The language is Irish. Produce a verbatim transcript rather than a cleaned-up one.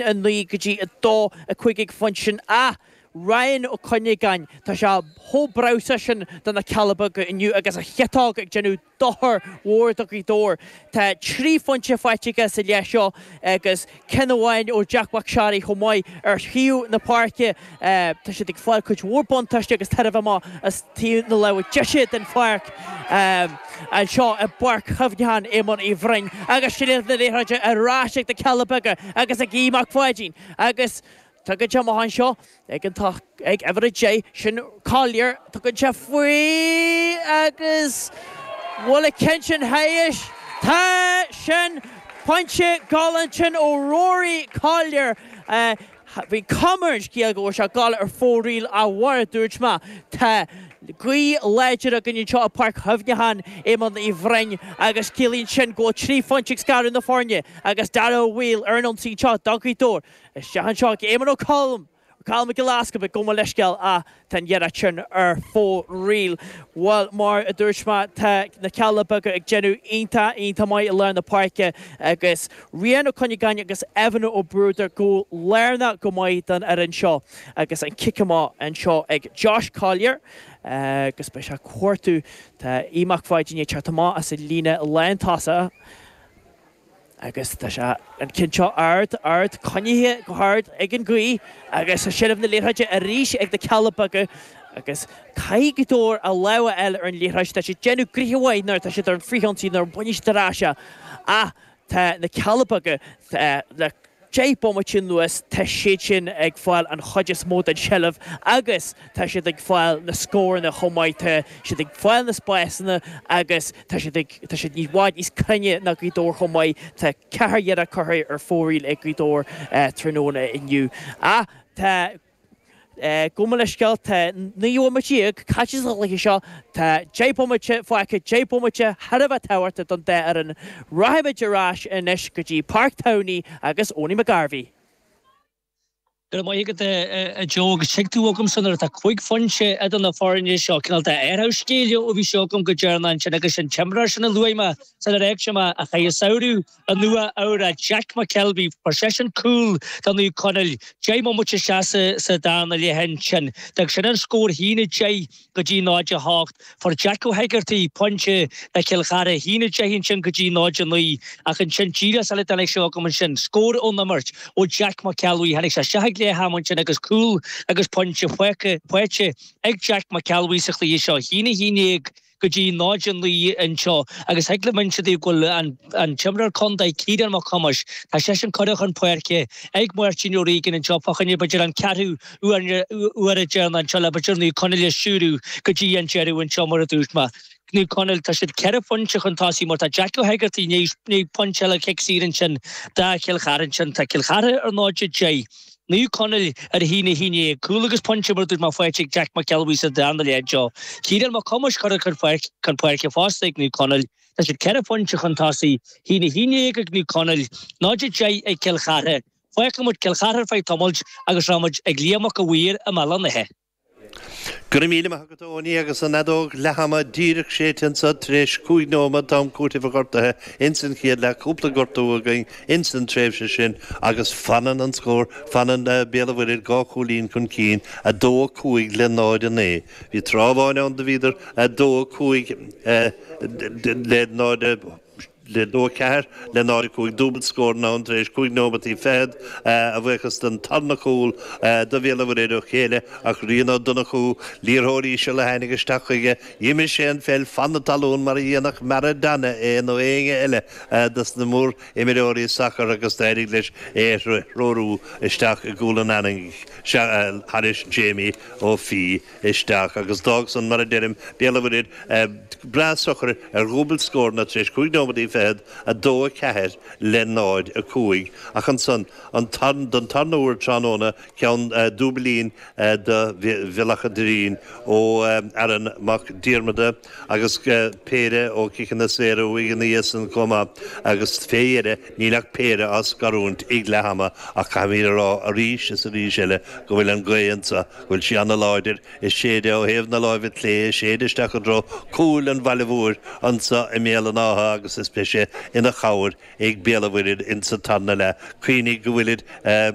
a naoi go dtí a dó a cúig ag an phointe sin ach Ryan Ó Cuinneagáin tá sé chomh breabhsa sin do na Cealla Beaga inniu agus a chiotóg ag déanamh dochar mhór do Ghaoth Dobhair. Tá trí phointe faighte aige sa leath seo agus ceann amháin ó Jack Mac Seáraí chomh maith ar thaobh na páirce. Tá siad ag fáil cuid mhór buntáiste agus tairbhe amach as taobh na láimhe deise den pháirc anseo i bPáirc Chuimhneacháin Éamoin Uí Bhroin agus seilbh na liathróide ar ais ag na Cealla Beaga agus ag Aodh Mac Pháidín agus Tugann sé amach anseo ag an ag uimhir a deich sin Collier tugann sé faoi agus bhfuil an ceann sin thairis tá sin pointe galánta sin ó Rory Collier. Bhí cuma ar an scéal go bhfuil sé ag gabháil ar fóraoil ach mar a dúirt mé tá gaoth láidir againn anseo i Páirc Chuimhneacháin Éamoin Uí Bhroin agus ciallaíonn sin go bhfuil trí phointe ag scaradh na foirne agus Dara Ó Bhaoill ar an ionsaí anseo do Ghaoth Dobhair. Isteach anseo ag Éamonn Ó Colm Colm Mac Giolla Easpaig gabh mo leithscéal ach tá an iarracht sin ar fóraoil. Bhuel mar a dúirt mé tá na Cealla Beaga ag déanamh iontach iontach maith i lár na páirce agus Rian Ó Cuinneagáin agus Evan Ó Bruadair go lárnach go maith don fhoireann seo agus an cic amach anseo ag Josh Collier agus beidh sé ag cuartú tá Aodh Mac Pháidín ag teacht amach as an líne lántosach. Agus tá sé an ceann seo ard, ard, coinnithe go hard ag an ghaoth agus tá seilbh na liathróide arís ag na Cealla Beaga agus caithfidh Gaoth Dobhair a lámh a fháil ar an liathróid. Tá siad ag déanamh gnoithe mhaith nuair atá siad ar an frithionsaí nuair a bhaineann siad ar ais é ach tá na Cealla Beaga le deich bomaite anuas, tá siad sin ag fáil an chuid is mó den tseilbh agus tá siad ag fáil na scóranna chomh maith. Tá siad ag fáil na spásanna agus tá siad ag, tá siad i bhfad níos cruinne ná Gaoth Dobhair chomh maith. Tá ceathair iarracht curtha ar fóraoil ag Gaoth Dobhair tráthnóna inniu. Ach tá. Gabh mo leithscéal, tá naoi bhomaite déag caite sa chluiche seo, tá deich bomaite fágtha, deich bomaite thar a bheith tábhachtach don dá fhoireann. Rachaimid ar ais anois go dtí Páirc Towney agus Owenie McGarvey. Go raibh maith agat a Joe agus tuig tú agamsa nuair atá cúig phointe idir na foirne seo, cineál de athrú scéil ó bhí sé agam go deireanach ansin agus an t-imreoir sin a luaigh mé sular fhág mé a chaith an samhradh i Nua Eabhrac, Jack McKelvey, fuair seisean cúl do Naomh Conaill, deich mbomaite isteach sa darna leath ansin. D'fhág sin an scór haon a deich go dtí náid a hocht. Fuair Jack Ó hEigeartaigh pointe do Chill Chartha, haon a deich ansin go dtí náid a naoi. Ach ansin díreach sula dtáinig sé agam ansin, scór ón imirt ó Jack McElwee. Tháinig sé isteach ag leath ama ansin agus cúl agus pointe faighte ag Jack McElwee sa chluiche seo, haon a haon déag. go dtí náid a naoi anseo agus thig liom inse daoibh go bhfuil an t-imreoir contae Ciarán Mac Thomáis, tá seisean curtha chun páirce ag Máirtín O'Regan anseo fá choinne b'fhéidir an ceathrú uair deireanach anseo le b'fhéidir Naomh Conaill a stiúradh go dtí an deireadh anseo mar a dúirt mé. Naomh Conaill, tá siad ceithre phointe chun tosaigh mar tá Jack Ó hEigeartaigh i ndiaidh pointe eile cic saor ansin do Chill Chartha ansin. Tá Cill Chartha ar náid a deich. Naomh Conaill ar a haon a haon déag. Cúl agus pointe mar a dúirt mé faighte ag Jack McElwee sa darna leath anseo. Ciarán Mac Thomáis curtha chun páirce fosta ag Naomh Conaill. Tá siad ceithre phointe chun tosaigh, haon a haon déag ag Naomh Conaill, náid a deich ag Cill Chartha. Fágfaidh muid Cill Chartha ar feadh tamaill agus rachaidh muid ag Liam Mac a' Mhaoir i mBéal an Átha. Go raibh míle maith agat a Owenie agus an fheadóg leath-ama díreach séidte anso tar éis cúig nóiméad d'am cúitimh an ghortaithe ins an chéad leath, cúpla gortú againn ins an tréimhse sin agus fanann an scór, fanann Béal an Mhuirthead dhá chúilín chun cinn, a dó a cúig le náid a naoi. Bhí tráth amháin ann do bhíodar a dó a cúig le náid a. le dó a ceathair le náid a cúig, dúbailt scóranna ann tar éis cúig nóimeataí fichead, a bhuíochas don tarna cúl do Bhéal an Mhuirthead ó chéile ach Rian Ó Donnchú, liathróid íseal a tháinig isteach chuige, d'imir sé an pheil fan na talún mar a dhéanfadh Maradona é nó éinne eile dos na mór-imreoirí sacair agus d'éirigh leis é a threorú isteach i gcúl an eangaigh thairis Jamie Ó Fiaich isteach agus d'fhág san, mar a deirim, Béal an Mhuirthead breá socair ar dhúbailt scóranna tar éis cúig nóimeataí fichead, a dó a ceathair le náid a cúig. Ach ansan, an don tarna huair tráthnóna, ceann dúbailín do Bhealach an Doirín ó Aaron Mac Diarmada agus péire ó chiceanna saora uaidh ina dhiaidh san chomh maith agus fé dheireadh níl ach péire á scarúint ag leath ama ach caithfimid a rá arís is arís eile go bhfuil an ghaoth anso, go bhfuil sí ana-láidir. Ag séideadh ó thaobh na láimhe clé, ag séideadh isteach i dtreo cúil an bhaile mhóir anso i mBéal an Átha agus is beidh beidh sé ina chabhair ag Béal an Mhuirthead insa tarna leath. Cuimhnigh go bhfuilid